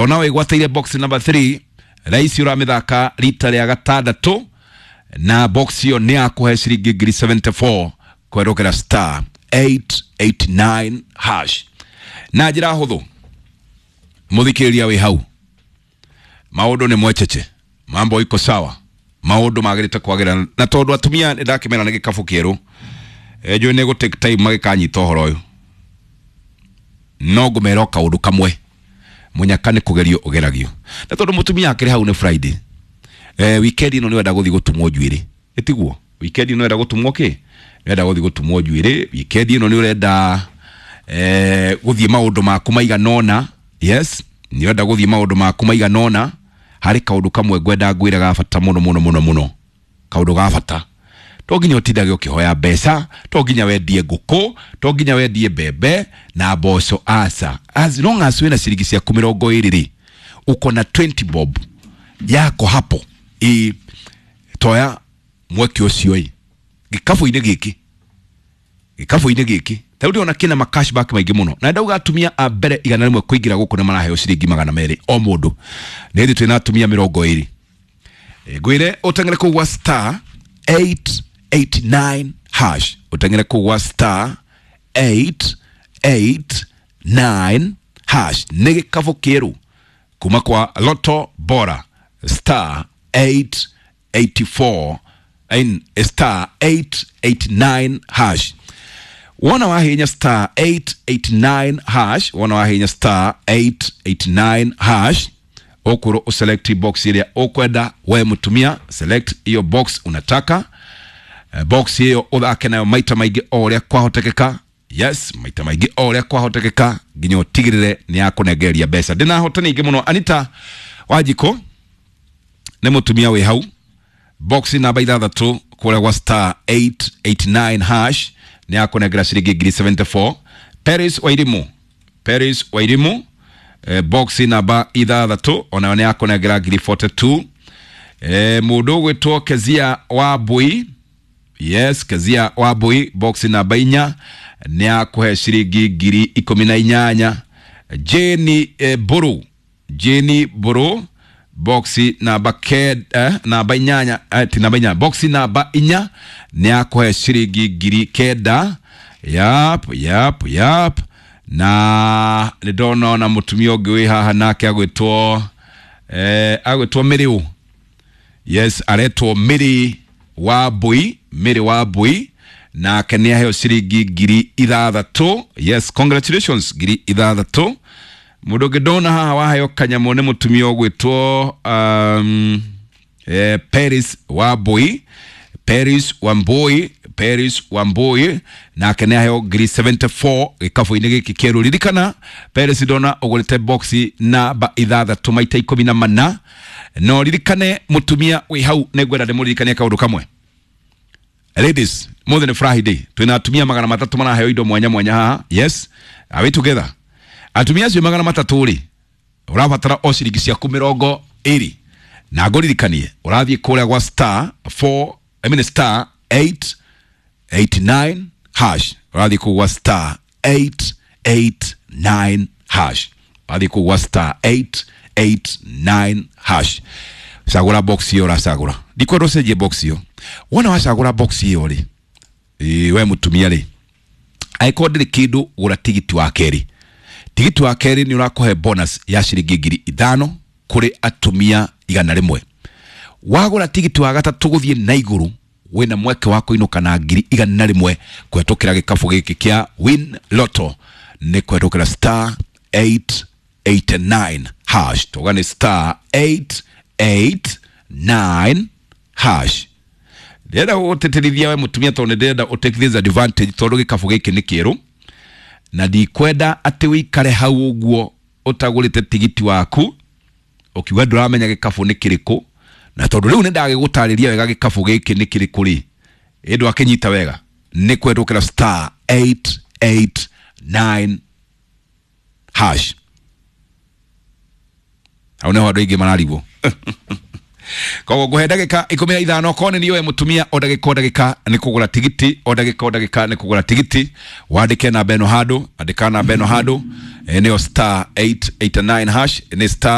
Ona wĩgwatĩire box number 3 raisi ũramĩthaka rita rĩa gatandatũ na box ĩyo nĩ yakũhe ciringi ngiri 74 kwerũkĩra star 889 hash. Na njĩra hũthũ, mũthikĩrĩria wĩ hau, maũndũ nĩ mwecheche, mambo iko sawa, maũndũ magĩrĩte kwagĩra, na tondũ atumia nĩ ndakĩmera nĩ gĩkabũ kĩerũ, njũĩ nĩ gũ take time magĩkanyita ũhoro ũyũ, no ngũmera o kaũndũ kamwe, mũnyaka nĩ kũgerio ũgeragio, na tondũ mũtumia akĩrĩ hau nĩ Friday, weekend ĩno nĩ wenda gũthiĩ gũtumwo njuĩrĩ, ĩtiguo weekend ĩno wenda gũtumwo kĩ, nĩ wenda gũthiĩ gũtumwo njuĩrĩ, weekend ĩno nĩ ũrenda gũthiĩ maũndũ maku maigana ũna. Yes, nĩ ũrenda gũthiĩ maũndũ maku maigana ũna. Harĩ kaũndũ kamwe ngwenda ngwĩre ga bata mũno mũno mũno mũno, kaũndũ ga bata. To nginya ũtindage ũkĩhoya mbeca, to nginya wendie ngũkũ, to nginya wendie mbembe na mboco, aca. As long as wĩna ciringi ciaku 20 rĩ, uko na 20 bob yako hapo, ĩ toya mweke ũcio ĩ gĩkabũ-inĩ gĩkĩ, gĩkabũ-inĩ gĩkĩ ta rĩu ndĩrona kĩna ma cashback maingĩ mũno, na ndauga atumia a mbere 100 kũingĩra gũkũ nĩ maraheo ciringi 200 o mũndũ. Nĩ hĩndĩ twĩna atumia 20. Ngwĩre ũteng'ere kũu gwa star 889 hash, ũteng'ere kũu gwa star 889 hash, nĩ gĩkabũ kĩerũ kuma kwa Lotto Bora, star 884 in star 889 hash. Wona wahinya star 889 hash, wona wahinya star 889 hash, ũkwĩrwo ũselect box ĩrĩa ũkwenda we mũtumia, select hiyo box unataka. Box hiyo ũthake nayo maita maingĩ o ũrĩa kwahotekeka. Yes, maita maingĩ o ũrĩa kwahotekeka nginya ũtigĩrĩre nĩ yakũnengereria mbeca. Ndĩna ahotani aingĩ mũno. Anita Wanjikũ nĩ mũtumia wĩ hau, box namba 6 kũrĩa gwa star 889 hash nĩ yakũnengera ciringi ngiri 74. Paris Wairimu, Paris Wairimu, box namba 6 onayo nĩ yakũnengera ngiri 42. Mũndũ ũgwĩtwo Kezia Wambui, yes, Kezia Wambui, box namba 4 nĩ yakũhe ciringi ngiri 18. Jane Mbũrũ, Jane Mbũrũ, box namba namba 8, ti namba 8, box namba 4 nĩ yakũhe ciringi ngiri 9. Yap, yap, yap. Na nĩ ndona ona mũtumia ũngĩ wĩ haha nake agwĩtwo agwĩtwo Mĩrĩũ. Yes, aretwo Mĩrĩ Wambui, Mĩrĩ Wambui, nake nĩ aheo ciringi ngiri 6. Yes, congratulations, ngiri 6. Mũndũ ũngĩ ndona haha waheo kanyamũ nĩ mũtumia ũgwĩtwo Paris Wambui, Paris Wambui, Paris Wambui, nake nĩ aheo ngiri 74 gĩkabũ-inĩ gĩkĩ kĩerũ. Ririkana Paris ndona ũgũrĩte box namba 6 maita 14. No ririkane mũtumia wĩ hau, nĩ ngwenda ndĩmũririkanie kaũndũ kamwe. Ladies, mũthĩ nĩ Friday, twĩna atumia 300 maraheo indo mwanya mwanya haha. Yes, are we together? Atumia acio 300 rĩ, ũrabatara o ciringi ciaku 20, na ngũririkanie ũrathiĩ kũrĩa gwa star 4, I mean star 889 hash, ũrathiĩ kũu gwa star 889 hash, ũrathiĩ kũu gwa star 889 hash, cagũra box ĩyo ũracagũra, ndikwenda ũcenjie box ĩyo. Wona wacagũra box ĩyo rĩ, we mũtumia rĩ, angĩkorwo ndĩrĩ kĩndũ, gũra tigiti wa kerĩ. Tigiti wa kerĩ nĩ ũrakũhe bonus ya ciringi ngiri 5 kũrĩ atumia 100. Wagũra tigiti wa gatatũ gũthiĩ na igũrũ, wĩna mweke wa kũinũka na ngiri 100 kũhetũkĩra gĩkabũ gĩkĩ kĩa Win Lotto, nĩ kũhetũkĩra star 889 hash, tuga nĩ star 889 hash. Ndĩrenda gũgũtĩtĩrithia we mũtumia, tondũ nĩ ndĩrenda ũ take this advantage, tondũ gĩkabũ gĩkĩ nĩ kĩerũ na ndikwenda atĩ wĩikare hau ũguo ũtagũrĩte tigiti waku ũkiuga ndũramenya gĩkabũ nĩ kĩrĩkũ. Na tondũ rĩu nĩ ndagĩgũtarĩria wega gĩkabũ gĩkĩ nĩ kĩrĩkũ rĩ, ĩ ndwakĩnyita wega, nĩ kũhetũkĩra star 889 hash. Hau nĩho andũ aingĩ mararigwo. Koguo nguhe ndagika 15, korwo nĩ niwe mũtumia, o ndagĩka o ndagĩka nĩ kũgũra tigiti, o ndagĩka o ndagĩka nĩ kũgũra tigiti. Wandĩke namba ĩno handũ, andĩka namba ĩno handũ, nĩyo star 889 hash, nĩ star.